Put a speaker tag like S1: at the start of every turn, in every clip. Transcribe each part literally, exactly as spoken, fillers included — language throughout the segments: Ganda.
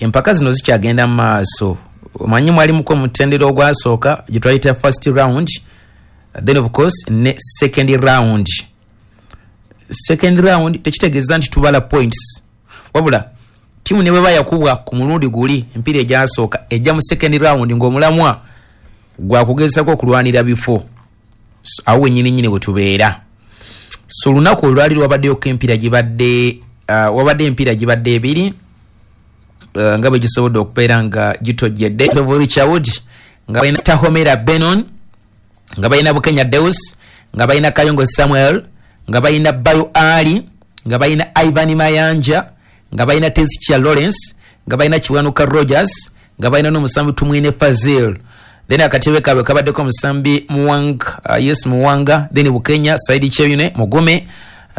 S1: Empaka zino zikyagenda mu maaso. Omanyi mwalimuko omutendera ogwasooka gye twayita first round, then of course ne second round. Second round tekitegeeza nti tubala points, wabula tiimu ne bweba yakubwa ku mulundi guli empiira egyasooka, ejja mu second round ng'omulamwa gwakugezako okulwanira bifo. So, awo wenyini nyini we tubeera. So olunaku olwali lwabaddeyoko empiira gibadde uh, wabadde empiira gibadde ebiri uh, nga bwe gisobodde okubeera nga gitojjedde. Richard nga balina Tahomera Benon, nga balina Bukenya Deus, nga balina Kayongo Samuel, nga balina Bayo Ali, nga balina Ivan Mayanja, nga balina Tesicha Lawrence, nga balina Kiwanuka Rogers, nga balina n'omusambi Tumwine Fazil. Then akatebe kaabwe kabaddeko omusambi Muwanga, uh, yes, Muwanga, then Bukenya, Saidi Cheyune, Mugume,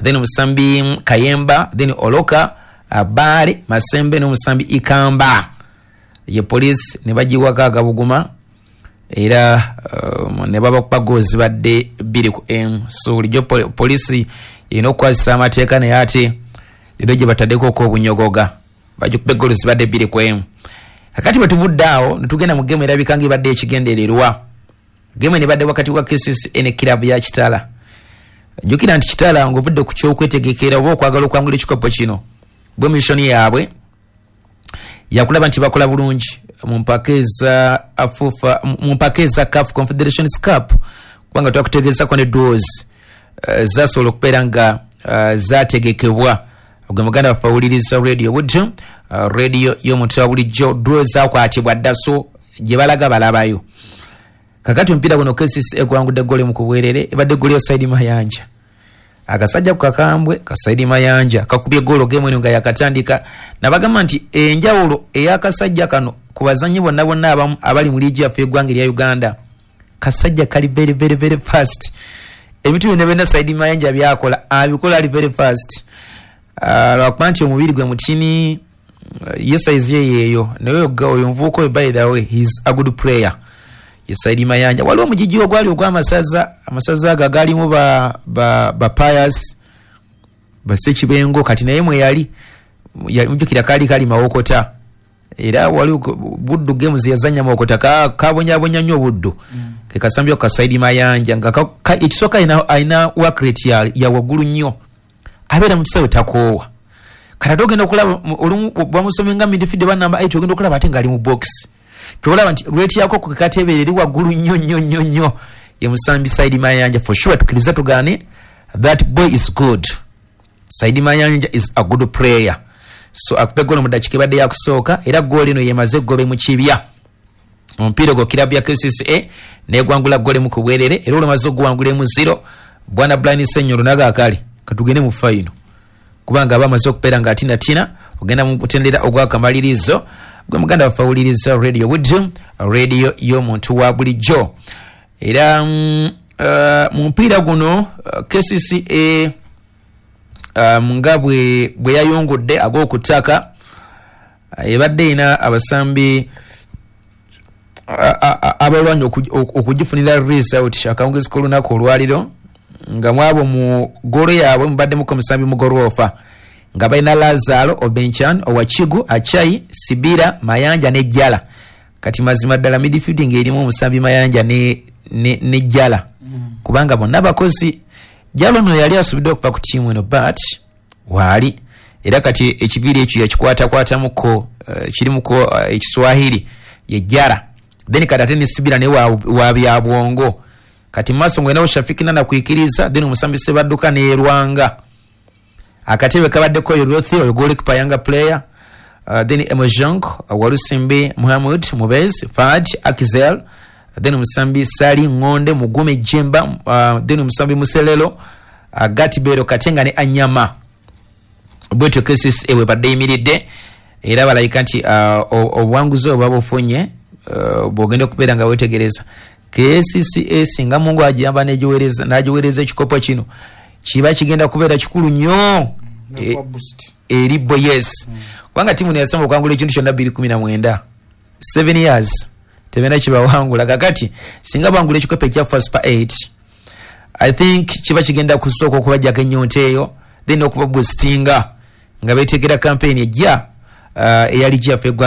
S1: then omusambi Kayemba, then Oloka, uh, Baale Masembe n'omusambi Ikamba. Ye Police ne bagiwako agabuguma era um, ne babakuba goals zibadde bbiri ku emu. So bulijjo poli- poliisi erina okukwasisa amateeka, naye ate leero gye bataddeko okwobunyogoga, bagikuba egoolo zibadde bbiri ku emu. Kakati bwe tuvudde awo ne tugenda mu gemu erabika nga ebadde ekigendererwa. Gemu eno ebadde wakati wa K C C A ne kirabu ya Kitala. Jjukira nti Kitala, ng'ovudde ku kyokwetegekera oba okwagala okwangula ekikopo kino, bwe mission yaabwe yakulaba nti bakola bulungi mu mpaka eza afufa, mu mpaka eza CAF Confederations Cup, kubanga twakutegeezako ne draws uh, zasobola okubeera nga uh, zategekebwa. Gwe muganda waffe awuliriza Radio Buddo, uh, radio y'omuntu wa bulijjo, draw zakwatibwa dda, so gye balaga balabayo. Kakati omupiira guno K C C egwangudde gole mu kubwerere, ebadde goli ya Saidi Mayanja. Akasajja ku kakambwe ka Saidi Mayanja kakubye golo gemu eno nga yakatandika. Nabagamba nti enjawulo ey'akasajja kano ku bazanyi bonna bonna abamu abali mu liigi yaffe y'eggwanga erya Uganda, kasajja kali very very very fast. Ebintu byonna byonna Saidi Mayanja byakola abikola ali very fast. Ah, lwakuba nti omubiri gwe mutini, ye size ye yeeyo, naye oyo oyo nvuuka oyo, by the way, he is a good player, ye Saidi Mayanja. Waliwo omugigi ogwali ogw'amasaza, amasaza ago agalimu ba, ba, ba Pius Basekibengo, kati naye mwe yali yali- mujjukira kaali kali Mawokota, era wali Buddu games yazanya Mawokota, ka- kabonyabonya nnyo Buddu. mm. Ke kasambyo ka Saidi Mayanja nga ka- ka- ekisooka alina- alina work rate ya, ya waggulu nnyo, abeera mu kisaawe takoowa. Kati ate ogenda okulaba mu- olumu bamusomye nga midfield ba number eight, ogenda okulaba ate ng'ali mu box. Kyolaba nti rate yako ku kateebere eri waggulu nnyo nnyo nnyo nnyo. Ye musambi Saidi Mayanja. For sure, tukiriza tugaane, that boy is good. Saidi Mayanja is a good player. So akuba eggoolo mu ddakiika ebadde yakusooka, era goolo eno yemaze eggobe mu kibya. Omupiira ogwo kirabu ya K C C A negwangula gole mu kubwerere, era olwamaze oguwangula emu zero, bwana Brian Senyolo naga akale katugende mu final, kubanga aba amaze okubeera nga atinatina ogenda mu mutendera ogwakamalirizo. Gwe muganda waffe awuliriza Radio Buddo, radio y'omuntu wa bulijjo. Era mm, uh, mu mupiira guno uh, K C C A um, nga bwe bwe yayungudde ag'okutaka, uh, ebadde erina abasambi a- a- a- abalwanyi oku- oku- okugifunira result akawungezi k'olunaku olwaliro, nga mwabo mu golo yaabwe mubaddemuko omusambi Mugolwofa, nga balina Lazaro Obenchan, Owakigu, Achai, Sibira, Mayanja ne Jala. Kati mazima ddala midfield ng'erimu omusambi Mayanja ne, ne, ne Jala, mm. kubanga bonna bakozi. Jala ono yali asubidde okuva ku tiimu eno, but waali era kati ekiviiri ekyo yakikwatakwatamuko, uh, kirimuko uh, ekiswahili, ye Jara. Then kati ate ne Sibira naye wa, wa bya bwongo. Kati maaso ngwenawo Shafiki Nana kwikiriza, then omusambi Sebadduka nerwanga. Akatebe kabaddeko oyo Rothi, oyo goalkeeper, younger player, uh, then Emojong, uh, Walusimbi, Muhammad Mubez, Fad Akizel, then omusambi Sali Ngonde, Mugume Jemba, uh, then omusambi Muselelo, uh, Gatibero Katenga ne Anyama. Bwetyo K C C A bwe badde yimiridde, era balabika nti uh, obuwanguzi obwo babufunye. uh, bwogenda okubeera nga wetegereza K C C A, singa Mungu agiyamba n'agiweereza ekikopo kino, kiba kigenda kubeera kikulu nnyo
S2: Nakuwa boost.
S1: Eri bo, yes, kubanga tiimu neyasamba okwangula ekintu kyonna bbiri kumi na mwenda, seven years tebena kibawangula. Kakati singa bangula ekikopo ekya Super eight, I think kiba kigenda kusooka okubajjako ennyonta eyo, then okuba boostinga nga betegera campaign ejja uh, eya ligi yaffe eggwanga.